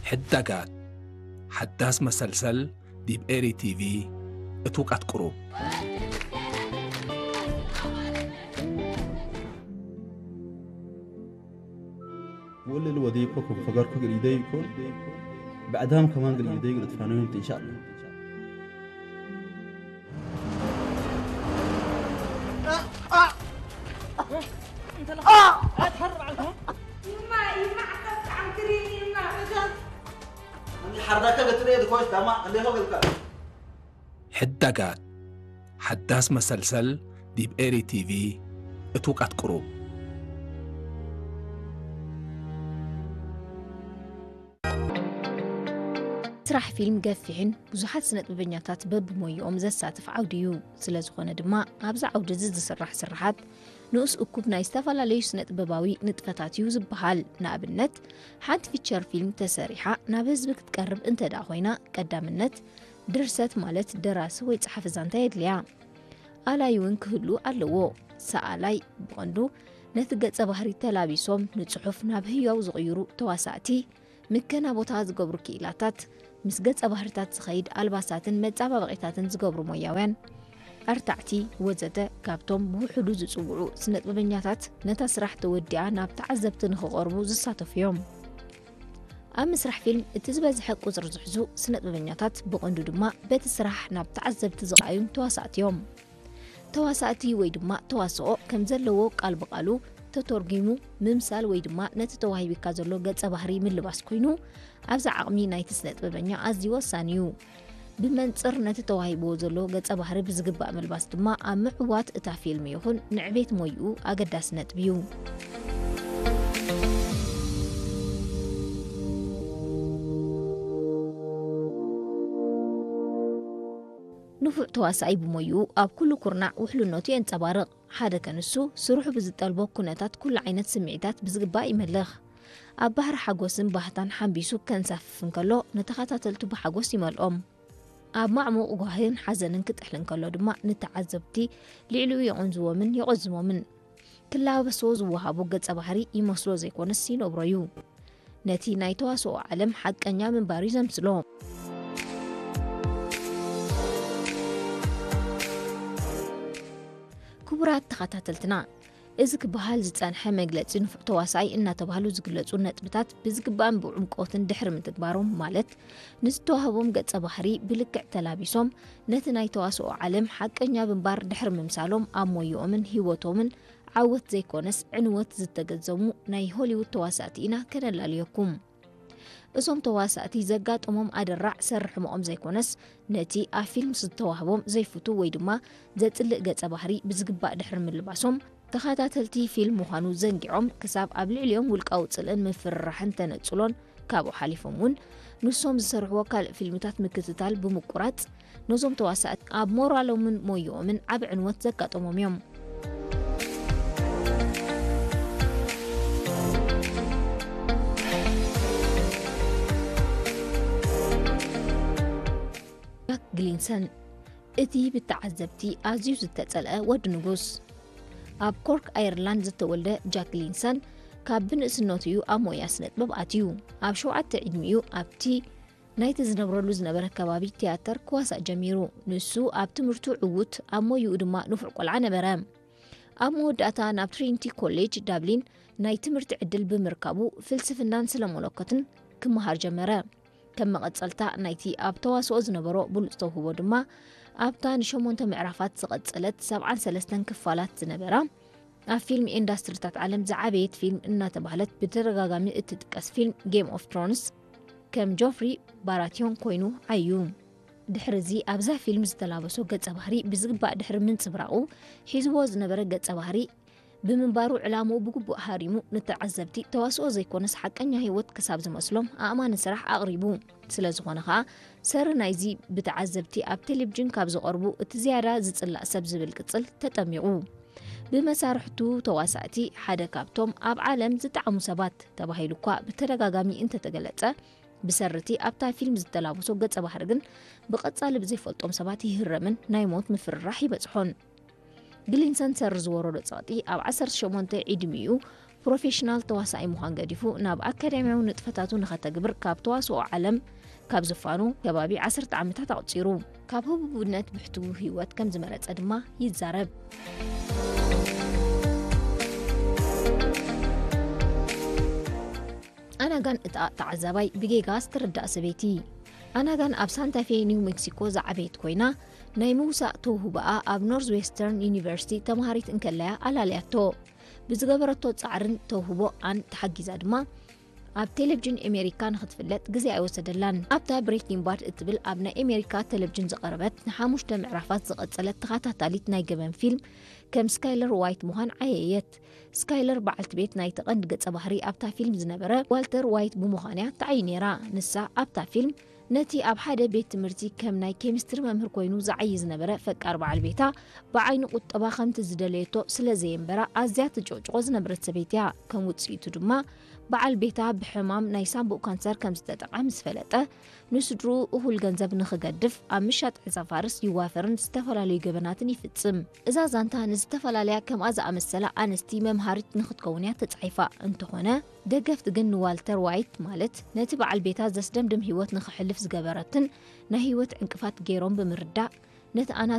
ሕዳጋት፣ ሓዳስ መሰልሰል ዲብ ኤሪ ቲቪ፣ እቱቃት ቁሩብ። ወልል ወዲኮ ከም ፈገርኩ ግሪደይ ይኩን ብዕዳም ከማን ግሪደይ ግርትፋኖ ይምት ኢንሻአላ። ሕዳጋት፣ ሓዳስ መሰልሰል ዲብ ኤሪ ቲቪ፣ እቱቃት ቁሩብ። ስራሕ ፊልም ገፊሕን ብዙሓት ስነጥበበኛታት በብሞይኦም ዘሳትፍ ዓውዲ እዩ። ስለ ዝኾነ ድማ ኣብዚ ዓውዲ እዚ ዝስራሕ ስርሓት ንኡስ እኩብ ናይ ዝተፈላለዩ ስነጥበባዊ ንጥፈታት እዩ ዝበሃል። ንኣብነት ሓንቲ ፊቸር ፊልም ተሰሪሓ ናብ ህዝቢ ክትቀርብ እንተ ደኣ ኮይና ቀዳምነት ድርሰት ማለት ደራሲ ወይ ጸሓፊ ዛንታ የድልያ። ኣላይ እውን ክህሉ ኣለዎ። ሰኣላይ ብቐንዱ ነቲ ገጸ ባህሪ ተላቢሶም ንጽሑፍ ናብ ህያው ዝቕይሩ ተዋሳእቲ፣ ምከና ቦታ ዝገብሩ ክኢላታት፣ ምስ ገጸ ባህርታት ዝኸይድ ኣልባሳትን መጻባበቒታትን ዝገብሩ ሞያውያን፣ ኣርታዕቲ ወዘተ ካብቶም ብውሕዱ ዝጽውዑ ስነጥበበኛታት ነታ ስራሕ ተወዲኣ ናብ ተዓዘብቲ ንኽቐርቡ ዝሳተፉ እዮም። ኣብ ምስራሕ ፊልም እቲ ዝበዝሐ ቁጽሪ ዝሕዙ ስነጥበበኛታት ብቐንዱ ድማ በቲ ስራሕ ናብ ተዓዘብቲ ዝቐኣዩን ተዋሳእቲ እዮም። ተዋሳእቲ ወይ ድማ ተዋስኦ ከም ዘለዎ ቃል ብቓሉ ተተርጒሙ ምምሳል ወይ ድማ ነቲ ተዋሂቢካ ዘሎ ገጸ ባህሪ ምልባስ ኮይኑ ኣብዚ ዓቕሚ ናይቲ ስነጥበበኛ ኣዝዩ ወሳኒ እዩ። ብመንጽር ነቲ ተዋሂብዎ ዘሎ ገጸ ባህሪ ብዝግባእ ምልባስ ድማ ኣብ ምዕዋት እታ ፊልም ይኹን ንዕቤት ሞይኡ ኣገዳሲ ነጥቢ እዩ። ንፉዕ ተዋሳኣይ ብሞይኡ ኣብ ኩሉ ኩርናዕ ውሕልነቱ የንጸባርቕ። ሓደ ከንሱ ስርሑ ብዝጠልቦ ኩነታት ኩሉ ዓይነት ስምዒታት ብዝግባእ ይመልኽ። ኣብ ባሕሪ ሓጎስን ባህታን ሓንቢሱ ከንሳፍፍ እንከሎ ንተኸታተልቱ ብሓጎስ ይመልኦም። ኣብ ማዕሙቕ ጓህን ሓዘንን ክጥሕል እንከሎ ድማ ንተዓዘብቲ ልዕሊኡ የቐንዝዎምን የቖዝሞምን። ክላበሶ ዝወሃቦ ገጸ ባህሪ ይመስሎ ዘይኮነስ ይነብሮ እዩ። ነቲ ናይ ተዋስኦ ዓለም ሓቀኛ ምንባር እዩ ዘምስሎ። ክቡራት ተኸታተልትና፣ እዚ ክበሃል ዝጸንሐ መግለጺ ንፉዕ ተዋሳኣይ እናተባህሉ ዝግለጹ ነጥብታት ብዝግባእን ብዕምቆትን ድሕሪ ምትግባሮም፣ ማለት ንዝተዋህቦም ገጸ ባህሪ ብልክዕ ተላቢሶም ነቲ ናይ ተዋስኦ ዓለም ሓቀኛ ምንባር ድሕሪ ምምሳሎም ኣብ ሞይኦምን ህይወቶምን ዓወት ዘይኮነስ ዕንወት ዝተገዘሙ ናይ ሆሊውድ ተዋሳእቲ ኢና ከነላልየኩም። እዞም ተዋሳእቲ ዘጋጠሞም ኣደራዕ ሰሪ ሕመቖም ዘይኮነስ ነቲ ኣብ ፊልም ዝተዋህቦም ዘይፍቱ ወይ ድማ ዘጽልእ ገጸ ባህሪ ብዝግባእ ድሕሪ ምልባሶም ተኸታተልቲ ፊልም ምዃኑ ዘንጊዖም ክሳብ ኣብ ልዕሊኦም ውልቃዊ ጽልእን ምፍርራሕን ተነጽሎን ካብኡ ሓሊፎም እውን ንሶም ዝሰርሕዎ ካልእ ፊልምታት ምክትታል ብምቁራጽ ነዞም ተዋሳእቲ ኣብ ሞራሎምን ሞይኦምን ዓቢ ዕንወት ዘጋጠሞም እዮም። ጃክ ግሊንሰን እቲ ብተዓዘብቲ ኣዝዩ ዝተጸልአ ወዲ ንጉስ። ኣብ ኮርክ ኣየርላንድ ዝተወልደ ጃክ ግሊንሰን ካብ ብንእስነቱ እዩ ኣብ ሞያ ስነጥበብ ኣትዩ። ኣብ ሸውዓተ ዕድሚኡ ኣብቲ ናይቲ ዝነብረሉ ዝነበረ ከባቢ ትያተር ክዋሳእ ጀሚሩ። ንሱ ኣብ ትምህርቱ ዕዉት፣ ኣብ ሞይኡ ድማ ንፉዕ ቆልዓ ነበረ። ኣብ መወዳእታ ናብ ትሪኒቲ ኮሌጅ ዳብሊን ናይ ትምህርቲ ዕድል ብምርካቡ ፍልስፍናን ስለመለኮትን ክመሃር ጀመረ። ከም መቐጸልታ ናይቲ ኣብ ተዋስኦ ዝነበሮ ብሉጽ ተውህቦ ድማ ኣብታ ንሸሞንተ ምዕራፋት ዝቐጸለት ሰብዓን ሰለስተን ክፋላት ዝነበራ ኣብ ፊልም ኢንዳስትሪታት ዓለም ዝዓበየት ፊልም እናተባህለት ብተደጋጋሚ እትጥቀስ ፊልም ጌም ኦፍ ትሮንስ ከም ጆፍሪ ባራቲዮን ኮይኑ ዓዩ። ድሕሪ እዚ ኣብዛ ፊልም ዝተላበሶ ገጸ ባህሪ ብዝግባእ ድሕሪ ምንጽብራቑ ሒዝዎ ዝነበረ ገጸ ባህሪ ብምንባሩ ዕላምኡ ብግቡእ ሃሪሙ ንተዓዘብቲ ተዋስኦ ዘይኮነስ ሓቀኛ ህይወት ክሳብ ዝመስሎም ኣእማኒ ስራሕ ኣቕሪቡ። ስለ ዝኾነ ኸኣ ሰሪ ናይዚ ብተዓዘብቲ ኣብ ቴሌቪዥን ካብ ዝቐርቡ እቲ ዝያዳ ዝጽላእ ሰብ ዝብል ቅጽል ተጠሚቑ። ብመሳርሕቱ ተዋሳእቲ ሓደ ካብቶም ኣብ ዓለም ዝጠዓሙ ሰባት ተባሂሉ እኳ ብተደጋጋሚ እንተተገለጸ ብሰርቲ ኣብታ ፊልም ዝተላበሶ ገጸ ባህሪ ግን ብቐጻሊ ብዘይፈልጦም ሰባት ይህረምን ናይ ሞት ምፍርራሕ ይበጽሖን። ግሊንሰን ሰሪ ዝወረዶ ጸቕጢ ኣብ ዓሰርተ ሸሞንተ ዕድሚኡ ፕሮፌሽናል ተዋሳኣይ ምዃን ገዲፉ ናብ ኣካዳሚያዊ ንጥፈታቱ ንኸተግብር ካብ ተዋስኦ ዓለም ካብ ዝፋኑ ከባቢ ዓሰርተ ዓመታት ኣቑጺሩ። ካብ ህቡብነት ብሕትዉ ህይወት ከም ዝመረጸ ድማ ይዛረብ። ኣናጋን እታ ተዓዛባይ ብጌጋ ዝተረዳእ ሰበይቲ። ኣናጋን ኣብ ሳንታፌ ኒው ሜክሲኮ ዝዓበየት ኮይና፣ ናይ ምውሳእ ተውህቦኣ ኣብ ኖርዝ ዌስተርን ዩኒቨርሲቲ ተምሃሪት እንከለያ ኣላልያቶ። ብዝገበረቶ ጻዕርን ተውህቦኣን ተሓጊዛ ድማ ኣብ ቴሌቪዥን ኣሜሪካ ንኽትፍለጥ ግዜ ኣይወሰደላን። ኣብታ ብሬኪንግ ባድ እትብል ኣብ ናይ ኣሜሪካ ቴሌቪዥን ዝቐረበት ንሓሙሽተ ምዕራፋት ዝቐጸለት ተኸታታሊት ናይ ገበን ፊልም ከም ስካይለር ዋይት ምዃን ዓየየት። ስካይለር በዓልቲ ቤት ናይቲ ቀንዲ ገጸ ባህሪ ኣብታ ፊልም ዝነበረ ዋልተር ዋይት ብምዃን'ያ ተዓዩ ነይራ። ንሳ ኣብታ ፊልም ነቲ ኣብ ሓደ ቤት ትምህርቲ ከም ናይ ኬሚስትሪ መምህር ኮይኑ ዝዓዪ ዝነበረ ፈቃር በዓል ቤታ ብዓይኒ ቁጠባ ከምቲ ዝደለየቶ ስለ ዘየንበራ ኣዝያ ትጭቕጭቖ ዝነበረት ሰበይቲ'ያ። ከም ውጽኢቱ ድማ በዓል ቤታ ብሕማም ናይ ሳንቡእ ካንሰር ከም ዝተጠቕዐ ምስ ፈለጠ፣ ንስድርኡ እኹል ገንዘብ ንኽገድፍ ኣብ ምሻጥ ዕጸ ፋርስ ይዋፈርን ዝተፈላለዩ ገበናትን ይፍጽም። እዛ ዛንታ ንዝተፈላለያ ከምኣ ዝኣመሰላ ኣንስቲ መምሃሪት ንኽትከውን'ያ ተጻሒፋ። እንተኾነ ደገፍቲ ግን ንዋልተር ዋይት ማለት ነቲ በዓል ቤታ ዘስደምድም ህይወት ንኽሕልፍ ዝገበረትን ናይ ህይወት ዕንቅፋት ገይሮም ብምርዳእ ነቲ ኣናስ